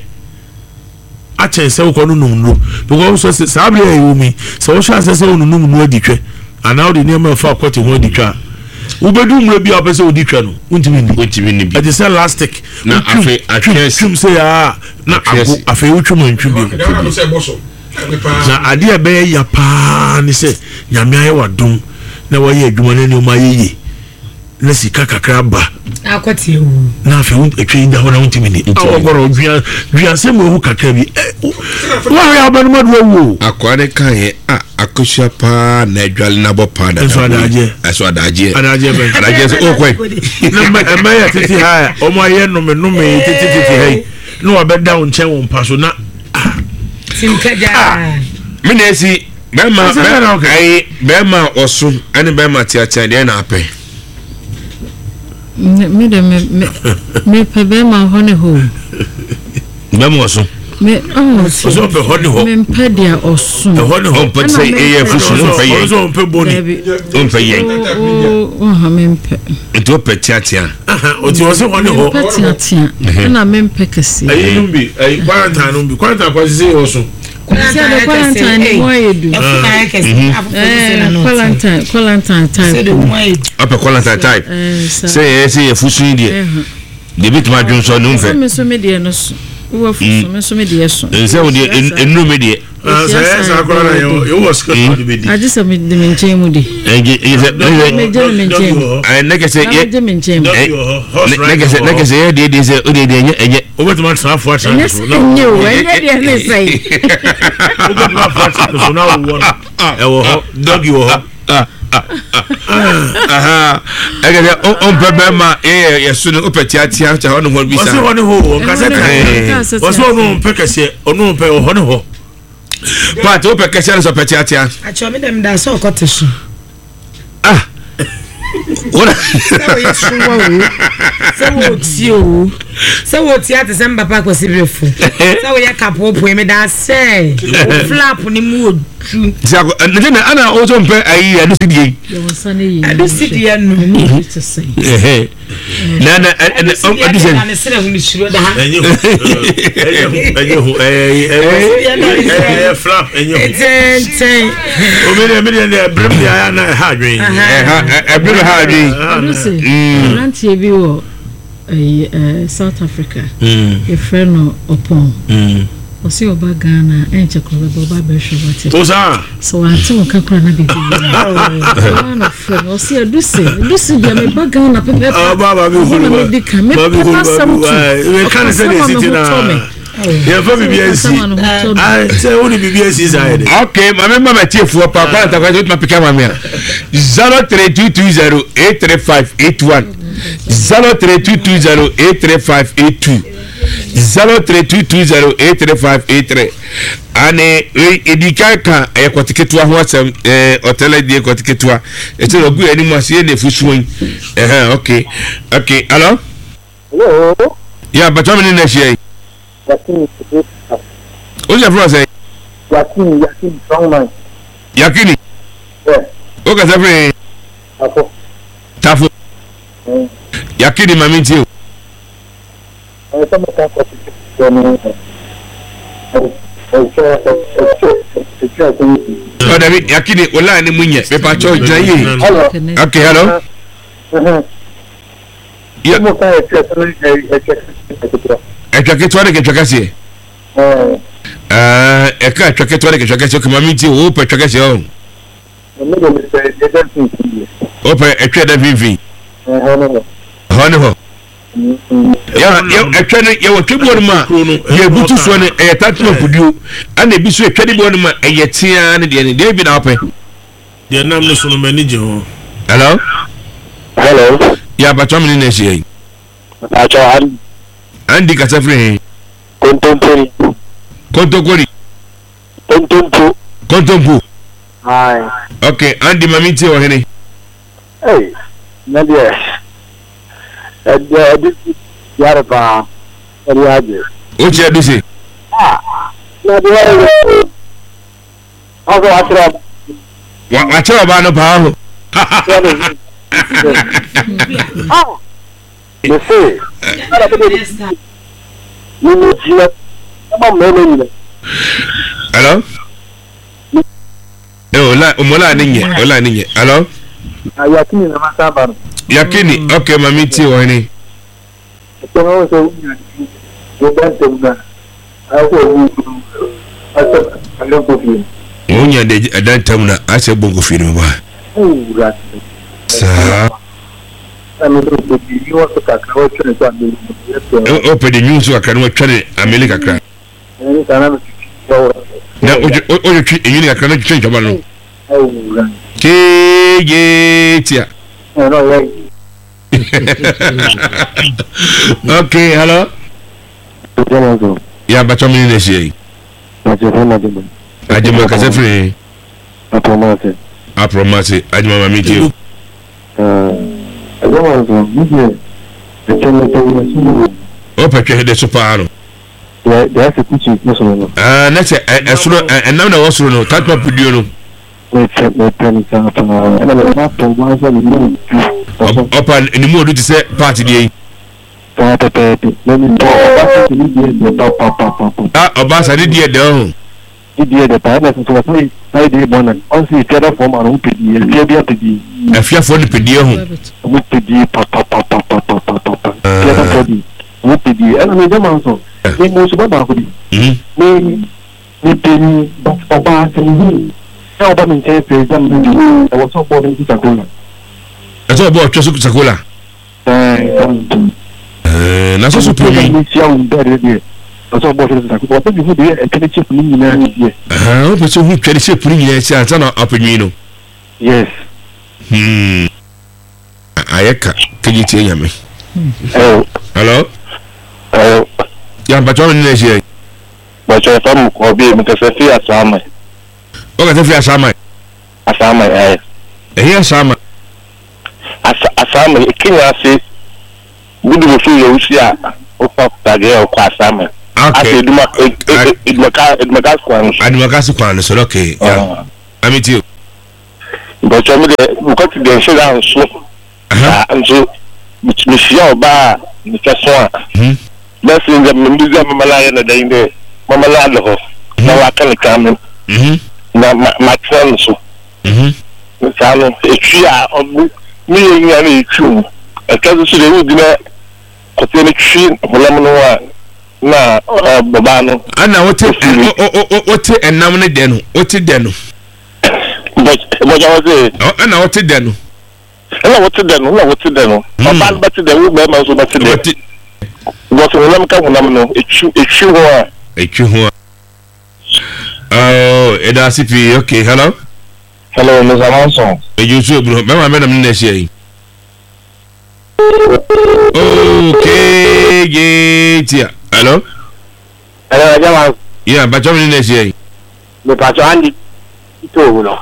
akyɛn sɛ wokɔ no nom nnuro because sɛ saa bere a ɛwɔ mu yi sɛ wohyɛ asɛ sɛ wononom nnuro adi twɛ anaa wode nneɛma ɛfa akɔte ho adi twɛ a wobɛdu mmerɛ bi a wopɛ sɛ wodi twɛ no wontumi nni wontumi nni bi ɛte sɛ elastic na afei atwɛs twum sɛ yaa na ago afei wotwum antwi bio na adeɛ a ɛbɛyɛ ya paa ne sɛ nyame ayɛ wadom na wayɛ adwuma no nneɛma ayɛ yie na sika kakra ba na afei wo atwa yi da hɔ na wontumi ni ɔgɔrɔ dua dua asɛm wɔ ho kakra bi wɔahwɛ abɛnoma do awu o. Akoa ne kan yɛ a akosua paa na adwale na abɔ paa dada nso adagyeɛ ɛso adagyeɛ adagyeɛ bɛn adagyeɛ sɛ ɔkɔe na mma ɛmma yɛ tete ha a wɔn ayɛ nnome nnome tete tete ha yi na wabɛda wo nkyɛn wɔ mpa so na ah ah me na esi Bɛrima bɛ ayi bɛrima a ɔso ɛne bɛrima teatea deɛ na apɛ. Me de me me me pɛ bɛrima hɔ ne hɔ o. Bɛrima ɔso. Me ɔmo ɔso ɔpɛ hɔ ne hɔ. Me mpɛ deɛ ɔso. Ɛhɔ ne hɔ. Ɔmpɛ sɛ ɛyɛ afusu ɔmpɛ yɛn. Ɔno ɔmpɛ bɔni. Ɔmpɛ yɛn. Ɔha me mpɛ. Nti ɔpɛ teatea. Ɔti ɔsɛ hɔ ne hɔ. Mempɛ teatea ɛna mempɛ kɛseɛ. Ɛyi nom bi ɛyi quarantine nom bi quarantine kɔ sisi ɔso. Sɛ quarantine ni mu ayɛ du. Quarantine quarantine type. Ɔpɛ quarantine type. Sɛ yɛ sɛ yɛ fusu yi deɛ. Deɛ bi tuma dwon sɔ ne nfɛ. Mi nso mi deɛ no so. Wɔ fusu mi nso mi deɛ so. Nsɛ wo deɛ nnuru mi deɛ. Sɛ yɛ saa koraa na yɛ wɔ sika tó de bɛ di. Agye sɛ mi de mi nkyɛn mu de. Ɛgye ɛgye sɛ ɛsɛ. Mi gye mi nkyɛn mu. Ɛɛ ne kɛsɛ yɛ. Mi gye mi nkyɛn mu. Ne kɛsɛ ne kɛsɛ yɛ deɛ deɛ sɛ o deɛ deɛ ɛnyɛ ɛnyɛ. Wobɛtumi atena afo atena ne so. Ɛnyɛ sɛ o ɛnyɛ deɛ ne sɛn. Wobɛtumi afo atena ne so na wowɔ no ɛwɔ hɔ dɔgi wɔ hɔ. Ɛkɛ sɛ ɔmpɛ bɛrima yɛyɛ yɛso no wopɛ teatea kyɛ hɔ ne hɔ bi sa. Ɔsɛ hɔ ne hɔ o ɔnkasa tea. Ɔsɛ ɔno ɔmpɛ kɛseɛ ɔno ɔmpɛ ɔhɔ ne hɔ. Paati wopɛ kɛseɛ no sɛ ɔpɛ teatea. Akyɛ mi dɛm da sɛ ɔkɔ te so. Ah. Sɛ woyɛ sowa o sɛ wotie o sɛ wotie ate sɛ mbapa akwasi berefo sɛ woyɛ kapoapoe meda sɛ wo flap ne mu ɔdu nti na ana wo so mpɛ ayi ɛno si deɛ yi ɛno si deɛ no na na ɛno sɛ ne serɛ ho mesuro da ɛnyɛ hu ɛnyɛ hu ɛyɛ flap ɛnyɛ hu tɛntɛn omi deɛ mi deɛ deɛ ɛbrɛ mi deɛ ayɛ na ɛha adwene ɛha ɛbrɛ mi ha adwene ɛno sɛ aberanteɛ bi wɔ ɛyi ɛɛ South Africa yɛfrɛ no ɔpɔn ɔsɛ ɔba Ghana ɛnkyɛ korɔ bɛba ɔba abɛhwɛ wate o saa sɛ wante wo nka koraa na biribi yɛ ɔba na frɛ no ɔsɛ adusi adusi deɛ meba Ghana pɛpɛpɛ ɔhɔ na medi kan mepɛ n'asɛm tu ɔka ne sɛ deɛ ɛsi ti na yɛmfa biribi ansi sɛ wode biribi asi saa yɛ de ok maame ma matiefoɔ pa kwana ntakwa sɛ wotuma pika ma me a 03220 83581 03220 83582 03220 83583 ane ɛdi kan ka ɛyɛ kɔte ketewa ho asɛm ɔtɛlɛ deɛ kɔte ketewa ɛsɛ ɔgu yɛ anim ase yɛ na ɛfu suo yi ɛhɛn ok ok hello Hello. Yeah, but I'm in next year. Yakini. What's your friend say? Yakini, Yakini, strong man. Yakini. Yeah. Okay, sir, friend. Tafo. Tafo. Yakini, mami too. Oh, David, Yakini, wala ni munye. Me pa cho gyina yie. Okay, hello. Ɛtwa ketewa ne kɛtwa kɛseɛ. Ɛka ɛtwa ketewa ne kɛtwa kɛseɛ. Okay, maame ti o pɛ twa kɛseɛ o. O pɛ ɛtwa ɛda mfimfini. Hɔ ne hɔ. Ɛtwa no yɛwɔ twa bi wɔ no ma yɛbutu soɔ no ɛyɛ tatena kuduo ɛna ebi so ɛtwa no bi wɔ no ma ɛyɛ tea ne deɛ ne deɛ bi na ɔpɛ. Deɛ nam ne so no m'ani gye ho. Hello. Hello. Yɛ abatwa mi ne na ahyia yi. Abatwa Andy. Andy kasa firi he. Kontompori. Kontonkori. Kontompo. Kontompo. Aye. Okay, Andy ma mi tie wɔ hene. Hey, na deɛ ɛdeɛ ɛde yare paa ɛde agye. O kyerɛ du se. Ah, na deɛ ɛyɛ. Ɔsɛ wakyerɛ ɔbaa. Wakyerɛ ɔbaa no paa ho. Mese, mimi gyina ɛma mmarima nyina. Hello? Eh, ola, omola ni nye, ola ni nye. Hello? Yakini na masa ba no. Yakini, okay, mami tie wɔ hene. Ɛsɛ no sɛ wonya deɛ da ntam no a, ayɛ sɛ ɔbu asɛ alɛ nkɔ fie no. Wonya deɛ ɛda ntam no a, asɛ bɔ nkɔ fie no ba. Wura. Saa. Na me sɛ ɔpɛ deɛ nwi wɔ so kakra watwa ne so ameli no yɛ pɛn. Ɔpɛ deɛ nwi wɔ so kakra no watwa ne ameli kakra. Ɛne saa na metwitwi wɔ. Na wotwitwi enwi no kakra na twitwi ntwaba no. Wura. Keegee tia. Ɛna ɔyɛ. okay hello. ya bàtà mi ní ẹsẹ yìí. Ajima kasa firi. Aprɔmase. Aprɔmase Ajima maame tie o. Ɛdɛm nso mi deɛ ɛkyɛ mi sɛ mi si mu. O pɛ twɛ de so paa no. Deɛ deɛ asɛ kutu ne soro no. Ɛɛ ne sɛ ɛsoro ɛnam na ɛwɔ soro no tatuma puduo no. Mepɛ mepɛ no saa paa ɛna mepɛ atɔ ɔbaa sɛ ne mu du. Ɔpa ne mu odu te sɛ paati deɛ yi. Saa pɛpɛɛpɛ na mepɛ ɔbaa sɛ ne deɛ dɛ papapapa. Ah ɔbaa sa ne deɛ dɛ ɔho. Ne deɛ dɛ paa ɛna sɛ ɔsan san deɛ bɔ na ɔnsi efia da fɔm ano pɛ die efia bi apɛ die. Afiafoɔ no pɛ die ho. Ɔmo pɛ die papapapapapapa efia da fɔ die ɔmo pɛ die ɛna me gyama nso me mo nso ba baako bi me. Me panyin, but ɔbaa sɛ me hu sɛ ɔba me nkyɛn sɛ gya me deɛ, ɛwɔ sɛ ɔbɔ me sakola. Ɛsɛ ɔbɔ ɔtwa so sakola. Ɛɛ sɛ me ntom. Ɛɛ na sɔsɔ panyin. Sɛ me hyia wo bɛɛ deɛ deɛ, ɛwɔ sɛ ɔbɔ ɔtwa so sakola. Ɔpɛ mi hu deɛ ɛtwa ne shape ne nyinaa deɛ. Ɛhɛn, ɔpɛ sɛ ɔhu twa ne shape ne nyinaa si ansa na apɛ nwi no. Yes. Hmm. Ayɛ ka kegye tie nyame. Hello. Hello. Ya mpatsɔ mi nina ehyia yi. Mpatsɔ ɛfa mu kɔ bi mi kasa fi asaama. O kasa fi asaama. Asaama ayɛ. Ɛhe asaama? Asa asaama Kenya ase gudu mo fi yɛ wusi a ofa dadeɛ ɔkɔ asaama. Okay. Ase eduma edumaka edumaka kwan no so. Edumaka kwan no so okay. Ya. Ami ti o. Mpakyɛw me deɛ mekɔte deɛ nhyɛ da nso saa nso mehyia ɔbaa a ne kyɛ so a bɛsi ndɛ mebedzi a mɛma no ayɛ no dɛn dɛ mɛma no ada hɔ na waka ne kan me na matena no so saa no etwi a ɔmo meyɛ nyina na etwi mu ɛtwa so so deɛ wogyina kɔteɛ no twi honam no ho a na ɔbaa no ana wote wote ɛnam no dɛ no wote dɛ no Bɔgya wɔ se. Ɛna wɔte dɛ no. Ɛna wɔte dɛ no, ɛna wɔte dɛ no. Hmm. Ɔbaa no bɛte dɛ, wo bɛrima nso bɛte dɛ. Because honam ka honam no, etwi etwi ho a. Etwi ho a. Oh, ɛda ase pii. Okay, hello. Hello, Mr. Manson. Eju nso eburu bɛrima bɛ nam ne na ahyia yi. Okay, tia. Hello. Hello, Ɛgya Manson. Yeah, bàtchɔ mi ne na ahyia yi. Mepakyɛw Andy too no.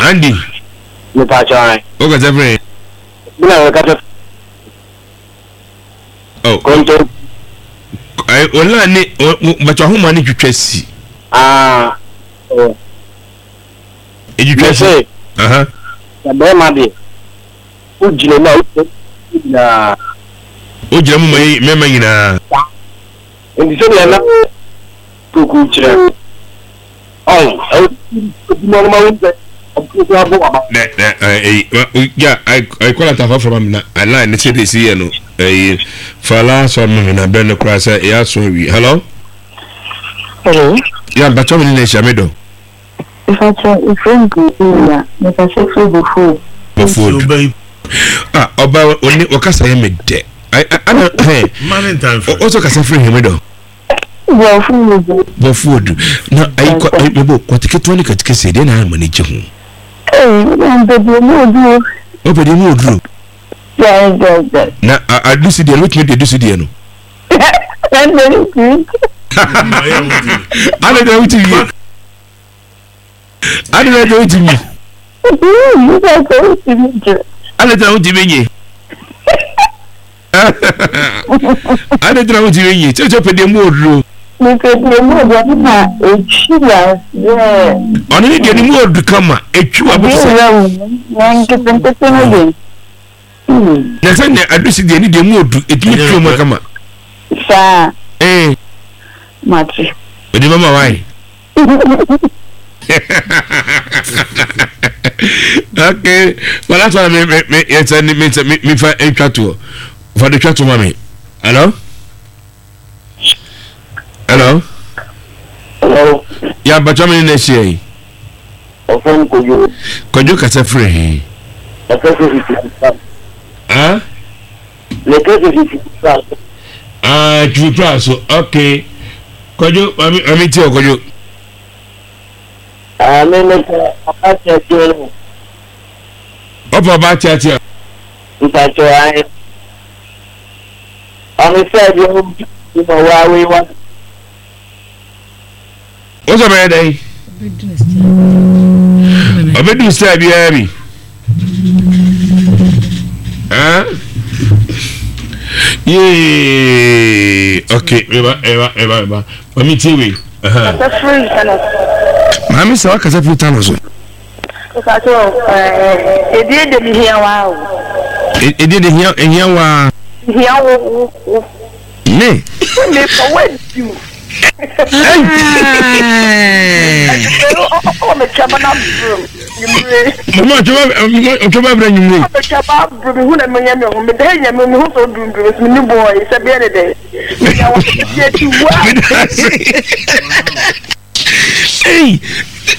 Andy. Mepakyɛw an. O kasa firi. Mi na mekasa. Oh. Konto. Ayi ola ne bàtchɔ ahoma ne twitwa si. Ah. Oh. Etwitwa si. Aha. Na bɛrima deɛ o gyina mu a o gyina mu nyinaa. O gyina mu ma mmarima nyinaa. Nti sɛdeɛ na Poku kyerɛ no, ɔn, ɛwɔ adwuma no ma wohu sɛ ɔbɛtumi koraa bɔ w'aba. Nɛ nɛ ɛyi ya ayi kɔla ta fafra ma mi na line ne sɛ de si yɛ no ɛyi fala sɔ mi na bɛn no koraa sɛ ɛyɛ aso awi hello. Hello. Ya mpatsɔ mi ne na ehyia mi dɔ. Mpatsɔ efrɛ mi Priscilla mekasa firi Bofood. Bofood. Ah ɔba oni ɔkasa yɛ mi dɛ. Ana hɛn. Ɔsɔ kasa firi hɛn mi dɔ. Bɔfo odu. Na ayi kɔ ayi mebo kɔte ketewa ne kɔte kɛseɛ deɛ na ayɛ ma ne gye ho. Ee mpɛ deɛ mu oduro. Ɔpɛ deɛ mu oduro. Gyae gyae gyae. Na adusi deɛ no wotumi de adusi deɛ no. Ɛnna ne tiri. Ana deɛ wotumi yie. Ana deɛ wotumi. Ana deɛ wotumi nye. Ade nti na wotumi nyi kyerɛkyerɛ pɛ deɛ mu oduro. Mepɛ deɛ mu oduro ɔno na etwi aseɛ. Ɔno ne deɛ ne mu odu kama etwi wa bɛte sɛ. Ebi wura mu na nketenkete no de. Na sɛ nea adusi deɛ ne deɛ mu odu etumi twi mu kama. Saa. Ee. Mate. Odi mama wae. Okay, well that's why me me me yes me me me me fa ntwa toɔ fa de twa to ma me. Hello, hello. Hello. Ya bàtà mi ní na ẹhyẹ yi. Ọ̀fẹ́ Kojú. Kojú kasa firi he. Ọ̀fẹ́ firi firi. Ah. Lẹ́kẹ́ firi firi. Ah, twitwa so okay. Kwadwo, maame maame tie o Kwadwo. Ah, me me pɛ ɔba teatea no. Ɔpɛ ɔba teatea. Mpakyɛ ahe. Ɔno sɛ deɛ ɔdi ma waa wei wa. Wo sɛ ɔbɛyɛ dɛn? Ɔbɛdu style biara bi. Ah? Yee. Okay, meba, meba, meba, meba. Mami tie wei. Maame sɛ wakasa firi tano so. Edie de mi hia wa o. Edie de hia hia wa. Hia wo wo wo. Me. Me fa wa di mu. Mama ɔtwa ba brɛ nwumire. Ɔtwa ba brɛ mi hu na mi yɛ mi ho mi dɛ yɛ mi mi ho sɛ odundun mi ni bɔɔ yi sɛ bɛyɛ ne dɛ. Mi yɛ wɔ yɛ ti wa. Ei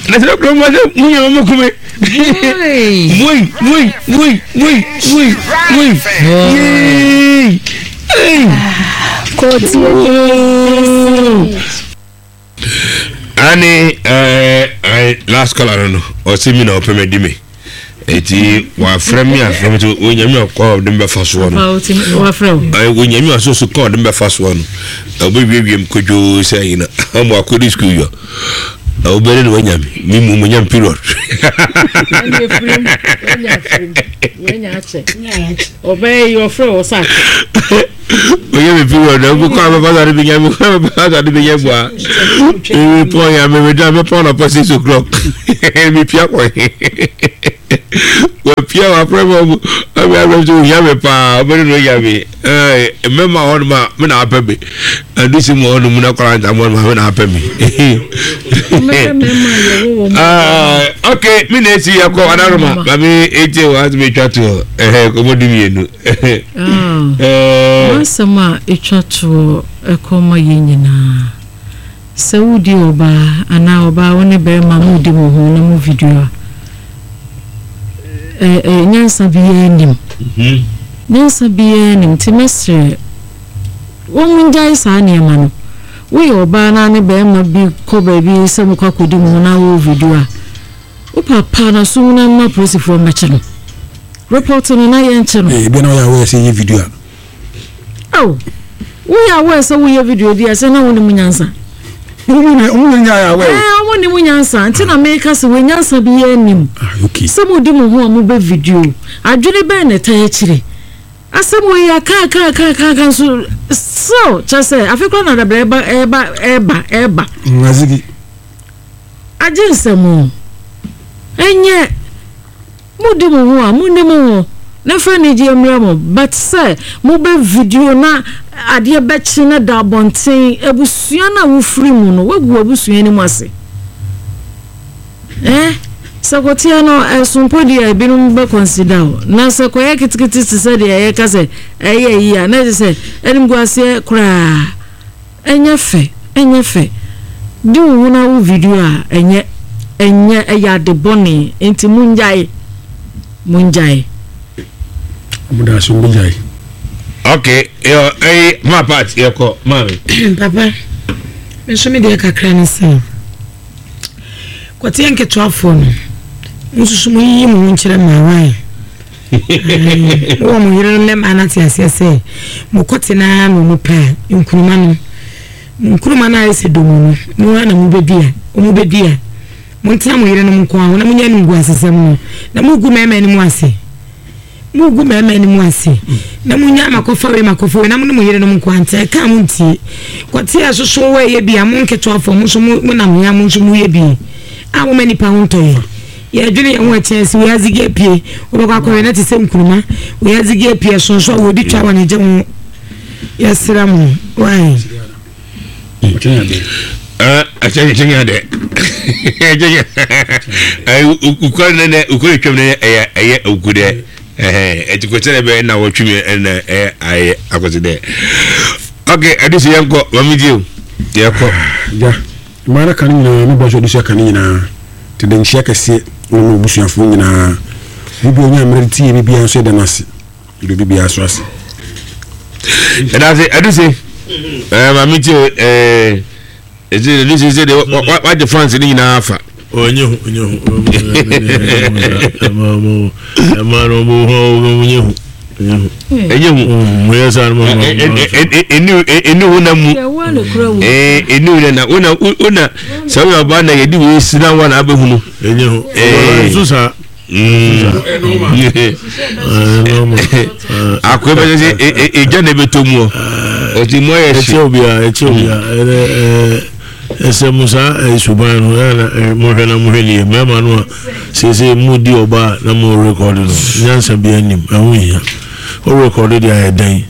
na sɛ kuro mu sɛ mu yɛ mo kume. Woi woi woi woi woi woi yee. Ei. Kɔɔtie. Ani ɛɛ eh, last caller no no ɔsi mi na ɔpɛ mɛ di mi. Eti wafrɛ me afrɛ me sɛ onyame ɔkɔ a ɔde me bɛfa soɔ no. Onyame ɔso so kɔ ɔde me bɛfa soɔ no. Ɔbɛwiewie me kodwoo sɛ yi na ɔmo akɔdi sukuu yɔ. Ɔbɛne na wanya me. Me mu manya me period. Ɔyɛ me period na ɔbɛkɔ abɛfa so ade bɛnya me kɔ abɛfa so ade bɛnya bua. Mepɔn ya mebɛda mɛpɔn anɔpa 6 o'clock. Mepia kɔ he. Wapia wafrɛ me ɔmo ɔmo afrɛ me sɛ ohia me paa ɔbɛne na onya me. Mmarima wɔ hɔnom a me na apɛ me. Adusi mu wɔ hɔnom na kɔla ntam hɔnom a me na apɛ me. Ok, me na esi yɛ kɔ adaroma maame eti wɔ ase betwa toɔ ɛhɛ kɔmɔ du mmienu. M'asɛm a etwa toɔ ɛkɔ ma yɛn nyinaa. Sɛ wodi ɔbaa anaa ɔbaa wo ne barima modi mo ho na mo video a, ɛ ɛ nyansa biara nnim. Nyansa biara nnim nti mɛsrɛ wɔn ngyae saa nneɛma no. Woyɛ ɔbaa na ne barima bi kɔ baabi sɛ mokɔ akɔdi mo ho na wo video a, Wo papa na sum na mma polisifoɔ mmɛkye no. Report no na yɛnkye no. Ebia na woyɛ aware sɛ yɛ video a. Ao, woyɛ aware sɛ woyɛ video di a sɛ na wonim nyansa. Ɔmo nyɛ ayɛ aware. Ɛɛ ɔmo nim nyansa nti na meka sɛ wɔ nyansa bi yɛ nim. Ah, okay. Sɛ mo di mo ho a mo bɛ video. Adwene bɛn na ɛtaa akyire. Asɛm wɔ yi aka aka aka aka aka nso still kyɛ sɛ afe koraa na dabrɛ ɛba ɛba ɛba ɛba. Ngazigi. Agye nsɛm o. Ɛnyɛ mo di mo ho a mo ni mo ho na fa anigyeɛ mmerɛ mo but sɛ mo bɛ video na adeɛ bɛkye na da abɔnten abusua no a wo firi mu no wagu w'abusua anim ase eh sɛ kɔteɛ no ɛso mpo deɛ ebinom bɛ consider o na sɛ kɔyɛ ketekete te sɛ deɛ yɛka sɛ ɛyɛ yi a na ɛsɛ sɛ animguaseɛ koraa. Ɛnyɛ fɛ, ɛnyɛ fɛ. Di wo ho na wo video a, ɛnyɛ, ɛnyɛ, ɛyɛ ade bɔne, enti mongyae, mongyae. Ɔmo da ase ɔmo bɛgyae. Ok, yɔ ɛyi ma part yɛ kɔ maame. Papa, me nso me deɛ kakra ne sɛ, kɔteɛ nketewafoɔ no, mo nso so mo yiyi mo ho nkyerɛ mmaa why? Mowɔ mo yerenom ne mmaa no ate aseɛ sɛ mokɔte no ara na wɔn pɛ a, nkuruma no, nkuruma no ayɛ sɛ domu no, mo ara na mobɛdi a, wɔbɛdi a. Montena mo yerenom nko ara ho na monyɛ animguasesɛm no, na mogu mmarima anim ase. Mogu mmarima anim ase, na monya makɔfa wei makɔfa wei, na mo ne mo yerenom nko ara ntena, ɛka a montie. Kɔte a ɛsoso wɔ ɛyɛ bi a, mo nketewafoɔ, mo nso monam hea, mo nso moyɛ bi a moma nnipa ho ntɔ yɛn. Yɛdwene yɛn ho a ɛkyɛn sɛ wiadze gi apue, wobɛkɔ akɔhwɛ na te sɛ nkuruma, wiadze gi apue ɛsonso a wɔdi twa wɔn gye ho. Yɛsrɛ mo, why? Ok, ɛde sɛ yɛnkɔ, mame die o, yɛkɔ. Ja. Mmaa no ka no nyinaa, me boa nso adesua ka no nyinaa. Nti de nkyea kɛseɛ ne mo abusuafoɔ nyinaa. Obi biara ɔnya mmerɛ de tie me biara nso yɛda no ase. Yɛda obi biara nso ase. Yɛda ase, Aduse. Ɛɛ maame tie o, ɛɛ ɛsɛ Aduse sɛ deɛ wagye fans no nyinaa afa. Ɔnyɛ hu, ɔnyɛ hu. Ɛma no ɔmo ho ɔmo nyɛ hu. Ɛnyɛ hu. Ɛni wo na mu. Ɛni wo na wo na wo na sɛ woyɛ ɔbaa na yɛde wei si na wa na abɛhunu. Ɛnyɛ hu. Nso saa. Akoe bɛ sɛ egya na ɛbɛtɔ mu ɔ. Ɔti mu ayɛ hye. Ɛkyɛ obiara ɛkyɛ obiara ɛnɛ ɛɛ. Ɛsɛ mo saa ɛɛ suban no ɛna na ɛɛ mohwɛ na mohwɛ nie mmarima no a seesei mo di ɔbaa na mo rekɔde no nyansa bi anim ɛho nhia wo rekɔde deɛ ayɛ dɛn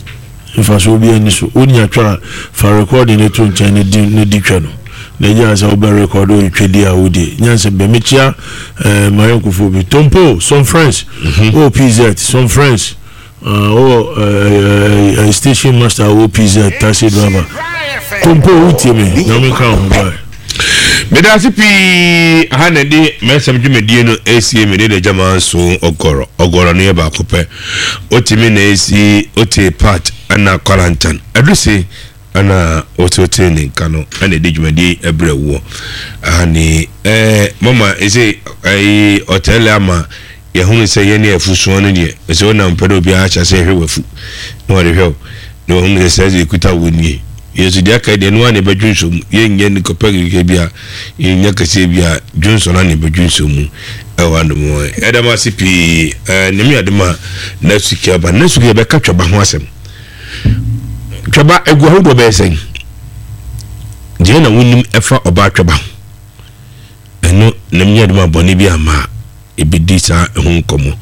mfasoɔ bi ani so wonya twa a fa rekɔde no to nkyɛn na di na di twa no na gyaa sɛ wobɛ rekɔde otwa di a wodie nyansa bi mekyia ɛɛ mayɔnkofoɔ bi Tompo some friends mm-hmm. OPZ some friends Wowɔ ɛɛ station master wɔ PZ taxi driver. Kompo wotie me nyame nka wo ho bye. Meda ase pii aha na ɛde mɛsɛm dwumadie no esie me ne na gyama nso ɔgɔrɔ ɔgɔrɔ no yɛ baako pɛ otimi na esi ote part ɛna kwarantan aduse ɛna ote ne nka no ɛna ɛde dwumadie ɛbrɛ woɔ aha ne ɛɛ mama ese ɛyi ɔtɛlɛ ama. Yɛhunu sɛ yɛne afu soɔ no deɛ, sɛ wonam pɛ na obiara ahyɛ aseɛ hwɛ w'afu na ɔde hwɛ wo, na wahunu sɛ saa deɛ ɛkuta wo nie. Yɛn nso deɛ aka deɛ, ɛno ara na yɛbɛdwonsɔ mu. Yɛnyɛ no kɔpɛ kɛkɛ bi a, yɛnnya kɛseɛ bi a, dwonsɔ no ara na yɛbɛdwonsɔ mu ɛwɔ anom hɔ. Yɛda mo ase pii. Ɛɛ, Nyame adom a, next week yɛba. Next week yɛbɛka twaba ho asɛm. Twaba egu ahodoɔ bɛyɛ sɛn? Deɛ na wonim ɛfa ɔbaa twaba ho. Ɛno na menyɛ adom a bɔne bi amma a, yɛbɛdi saa ɛho nkɔmmɔ.